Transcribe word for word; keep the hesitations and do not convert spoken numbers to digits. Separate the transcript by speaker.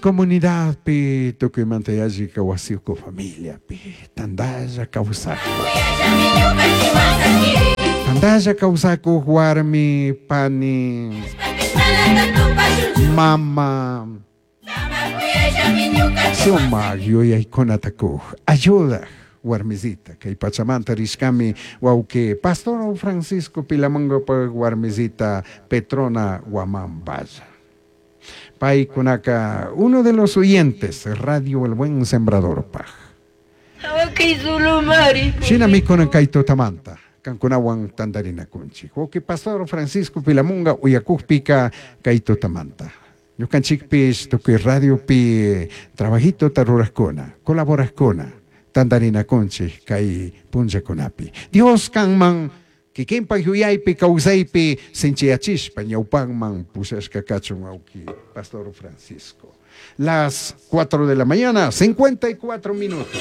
Speaker 1: Comunidadpi tukuymanta yallika wasiuku familiapi tantalla kawsakuk. Tantalla kawsakuk warmi, pani, mama, sumak yuyaykunata kuk, ayudak warmisita kay pachamanta rishkami wawqi Pastor Francisco Pilamungapak warmisita Petrona Guamán Valla. Paykunaka uno de los oyentes Radio El Buen Sembradorpaj. Shinami kunan kay tutamanta kankunawan tantarinakunchik. Wawqi Pastor Francisco Pilamunga uyakukpika kay tutamanta. Ñukanchikpish tukuy radiopi trabajitota rurakkuna, colaborakkuna, tantarinakunchik kay punllakunapi. Dios kanman kikinpak yuyaypi kawsaypi sinchiyachishpa ñawpanman pushashka kachun wawqi Pastor Francisco. Las cuatro de la mañana, cincuenta y cuatro minutos.